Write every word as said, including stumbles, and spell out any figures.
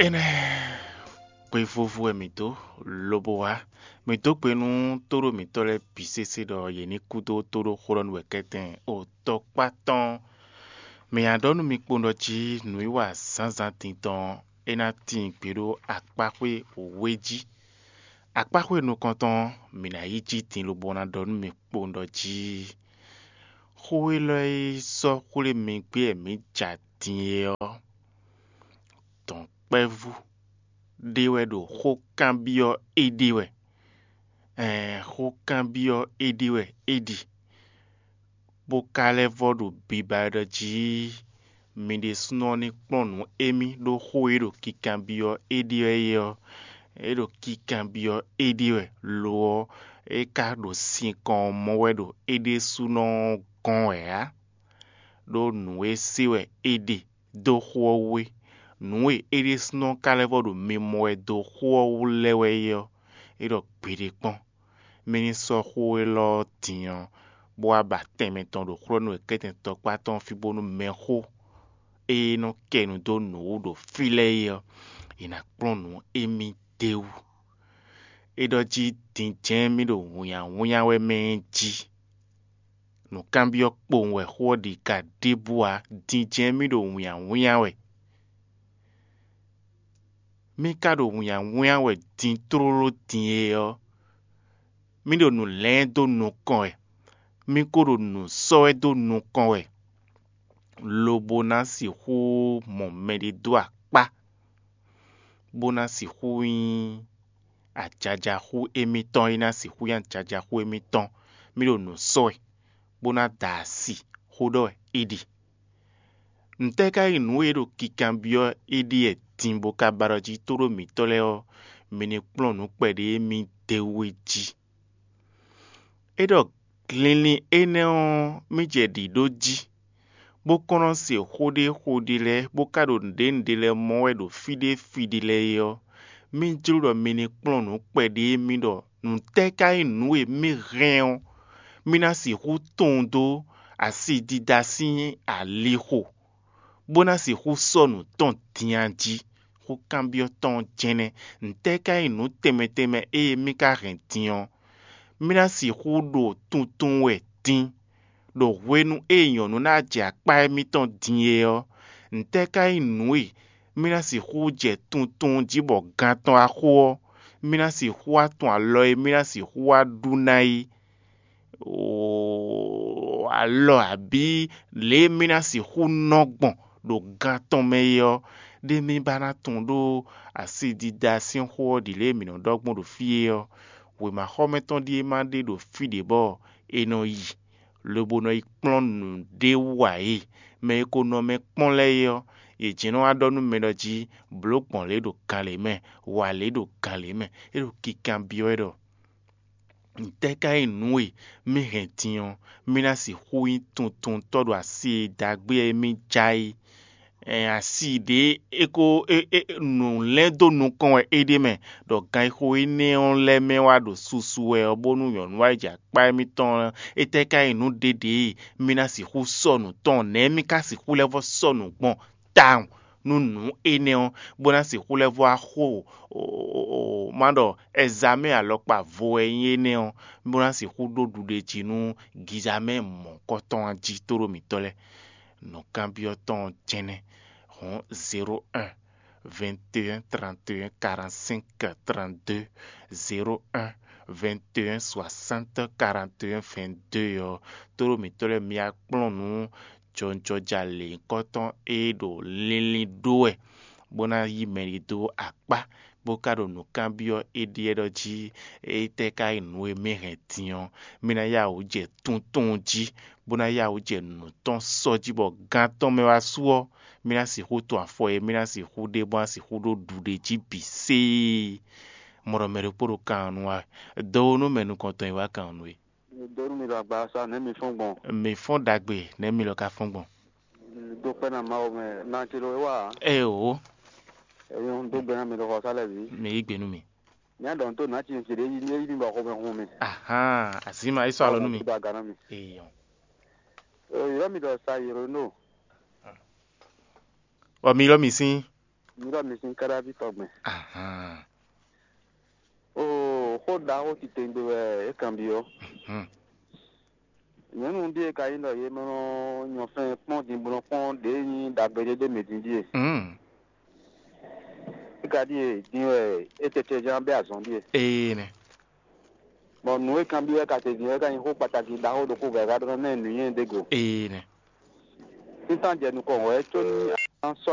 Énɛ́ hwevovo wɛ mǐ dó, lobo wá. Mǐ dó gbe nú tóɖó mǐtɔn lɛ́ɛ bǐ sésé ɖɔ yě ní kú dó tóɖó xó ɖɔ nú wɛ̌kɛ́tɛn otɔ́kpá tɔn. Mǐ nǎ ɖɔ nú mi kpowun ɖɔ jí nǔwiwa zǎnzǎn din tɔn ɔ́, é ná tíin gbe ɖó akpáxwé wěwé jí. Akpáxwé nukɔntɔn ɔ́, mǐ ná yi jí din lobo ná ɖɔ nú mi kpowun ɖɔ jí xó élɔ́ e sɔ́ xwlé mi gbé wɛ mǐ ja din é ɔ́, dɔ̌nkpɛ́vú ɖé wɛ ɖo xó kanbyɔ́ éɖée wɛ. Ɛɛn, xó kanbyɔ́ éɖée wɛ é ɖi, bó ka lɛ́ vɔ́ ɖo biba wɛ ɖɔ jí mi ɖésúnɔ ní kplɔ́n nǔ émí ɖó xó e ɖo kikanbyɔ́ éɖée wɛ é ɔ́, é ɖo kikanbyɔ́ éɖée wɛ. Lo ɔ́, é ka ɖo sinkɔn ɔ́ mɔ wɛ ɖo é ɖésúnɔ ɔ́ gɔ́n wɛ ǎ, ɖó nǔ e se wɛ é ɖe dó xó ɔ́ wú é. Nǔ e é ɖésúnɔ ka lɛ́ vɔ ɖo mimɔ wɛ dó xó ɔ́ wú lɛ́ɛ wɛ é ɔ́, é ɖɔ gbeɖé kpɔ́n. Mí ní sɔ́ xó élɔ́ ɔ́ din ɔ́, bó wá ba tɛnmɛ tɔn ɖo xlɔ́nú e kɛ́tɛn tɔkpá tɔn fí bónú mɛxó e nɔ kɛ nu dó nǔ wú ɖo fí lɛ́ɛ é ɔ́, è nǎ kplɔ́n nǔ émí d'é wú. É ɖɔ jí din jɛ́n mì ɖo wunnyawunnya wɛ mɛ é jí. Nǔkanbyɔ́ kpowun wɛ xó ɔ́ ɖi ka ɖěbǔ ǎ, din jɛ́n mì ɖo wunnyawunnya wɛ. Mì ka ɖo wunnyawunnya wɛ din tlóló din e ɔ́, mì ɖo nǔ lɛ́n dó nukɔn wɛ, mì ko ɖo nǔ sɔ́ wɛ dó nukɔn wɛ, lobo ná sixú mɔ mɛɖé dó akpá, bó ná sixú nyí ajaja xú émítɔn e ná sixú nyí ajaja xú émítɔn. Mì ɖo nǔ sɔ́ wɛ, bó ná da asi xó ɖɔ wɛ é ɖi. Ntɛ́ ka nyí nǔ e ɖo kikanbyɔ́ é ɖíe din bó ka ba ɖɔ jí tóɖó mǐtɔn lɛ́ɛ ɔ́, mi ní kplɔ́n nǔ kpɛɖé e mì d'é wú é jí? É ɖɔ linlin énɛ́ ɔ́, mì jɛ ɖǐ ɖó jí, bó kɔn nɔ se xó ɖé xó ɖé lɛ́ɛ, bó ka ɖo nǔɖé nǔɖé lɛ́ɛ mɔ wɛ ɖo fí ɖé fí ɖé lɛ́ɛ é ɔ́, mì jló ɖɔ mi ní kplɔ́n nǔ kpɛɖé e mì ɖɔ nǔtɛ́ ka nyí nǔ e mì hɛn ɔ́, mì ná sixú tunwun dó asidida sín alixo, bó ná sixú sɔ́ nǔ tɔn din a jí? Xó kanbyɔ́ tɔn ɔ́ jɛ́n nɛ́. Ntɛ́ ka nyí nǔ tɛnmɛ tɛnmɛ e mì ka hɛn din ɔ́, mì ná sixú ɖo tuntun wɛ din, ɖo hwenu e nyɔ̌nu ná jɛ akpá émítɔn din é ɔ́? Ntɛ́ ka nyí nǔ e mì ná sixú jɛ tuntun jí bɔ gan tɔn wá xo ɔ́, mì ná sixú wá tun alɔ e mì ná sixú wá ɖu ná é? Oo, alɔ abǐ lě e mì ná sixú nɔ gbɔn ɖo gan tɔn mɛ é ɔ́, ɖé mì ba ná tunwun ɖó asidida sín xó ɔ́ ɖi lě e mǐ nɔ ɖɔ gbɔn ɖo fí é ɔ́. Wěmaxɔmɛ tɔn ɖíe ma ɖe ɖo fí ɖě bɔ è nɔ yi, lobo nɔ yi kplɔ́n nǔɖé wú ǎ é. Mɛ e ko nɔ mɛ kpɔ́n lɛ́ɛ é ɔ́, yě jɛ́n nɔ wá ɖɔ nú mɛ ɖɔ jí blǒ gbɔn lě ɖo gan lě mɛ, wa lě ɖo gan lě mɛ. É ɖo kikanbyɔ́ wɛ ɖɔ ntɛ́ ka nyí nǔ e mì hɛn din ɔ́, mì ná sixú nyí tuntuntɔ́ ɖo asi e ɖagbe e mì ja é? Ɛn asi ɖě é ko é é nǔ lɛ́n dó nukɔn wɛ é ɖe mɛ, ɖɔ ganxixo énɛ́ ɔ́ lɛ́ɛ mɛ wá ɖo susu wɛ ɔ́, bónú nyɔ̌nu wá yi jɛ akpá émítɔn ɔ́, étɛ́ ka nyí nǔ ɖěɖě e mì ná sixú sɔ nǔ tɔn? Nɛ̌ mì ka sixú lɛ́ vɔ́ sɔ nǔ gbɔn tawun nú nǔ énɛ́ ɔ́, bó ná sixú lɛ́ vɔ́ wá xo má ɖɔ ɛzamɛ alɔkpa vo wɛ nyí énɛ́ ɔ́, bó ná sixú ɖó ɖuɖéjí nú gizamɛ mɔ̌kɔtɔn jí tóɖó mǐtɔn lɛ́ɛ? Nǔkanbyɔ́ tɔn ɔ́ jɛ́n nɛ́. Hɔ̌n zéro un, vingt et un, trente et un, quarante-cinq, trente-deux, zéro un, vingt et un, soixante, quarante et un, vingt-deux ɔ́, tóɖó mǐtɔn lɛ́ɛ mi wá kplɔ́n nǔ jɔjɔjalěnyíkɔtɔn e ɖo linlin ɖó wɛ, bó ná yí mɛ ɖi dó akpá, bó ka ɖo nǔ kanbyɔ́ éɖée ɖɔ jí étɛ́ ka nyí nǔ e mì hɛn din ɔ́, mì ná yá wǔ jɛ tunwun jí, bó ná yá wǔ jɛ nǔ tɔn sɔ́ jí bɔ gan tɔn mɛ wá su ɔ́, mì ná sixú tun afɔ e mì ná sixú ɖe bó ná sixú ɖó ɖuɖe jí bǐ séé. Mɔ ɖɔ mɛ ɖokpó ɖo kan ɔ́ nu wá, dɔwónú mɛ nukɔntɔn e wá kan ɔ́ nu é. Mi dó nú mi ɖo agbaza nɛ̌ mi fɔ́n gbɔn? Mǐ fɔ́n ɖagbe, nɛ̌ mi lɔ ka fɔ́n gbɔn? Mi dó kpɛ́ ná Mawu mɛ, ná ce ɖo é wá ǎ. Ée o, Ẹ̀yin ń dó gbɛ ná mi ɖo xɔsá lɛ́ɛ bǐ. Mǐ yí gbe nú mi. Ní a ɖɔ ń tó nǎ ci ce ɖě yí ní é yí ní bɔ xomɛ hun mi. Ahán, azǐma é sɔ́ alɔ nú mi. Dó aga ná mi. Eyɔn. Yɔ́ mi ɖɔ sa yǒ nɔ. Ɔ mi lɔ mi sín. Mi ɖɔ mi sín káɖáví tɔgbɛn. Ahan. Oo, xó ɖaxó titewungbe wɛ é kanbyɔ́. Mhm. Nyɔ̌nu ɖíe ka nyí ɖɔ yě mɛ nɔ nyɔ fɛn kpɔ́n din bó nɔ kpɔ́n ɖě nyí ɖagbe ɖé ɖé mɛ din ɖíe. Mhm. É ka ɖíe din wɛ é tɛtɛ ján bɛ́ azɔn ɖíe. Ee nɛ. Bɔ nǔ e kanbyɔ́ wɛ ka te din wɛ ka nyí xó kpataki ɖaxó ɖokpó bɔ è ka ɖɔ ná ɛ nǔnywɛ́ ɖé go. Ee nɛ. Sísán jɛ nukɔn wɛ có ní a nǎ sɔ́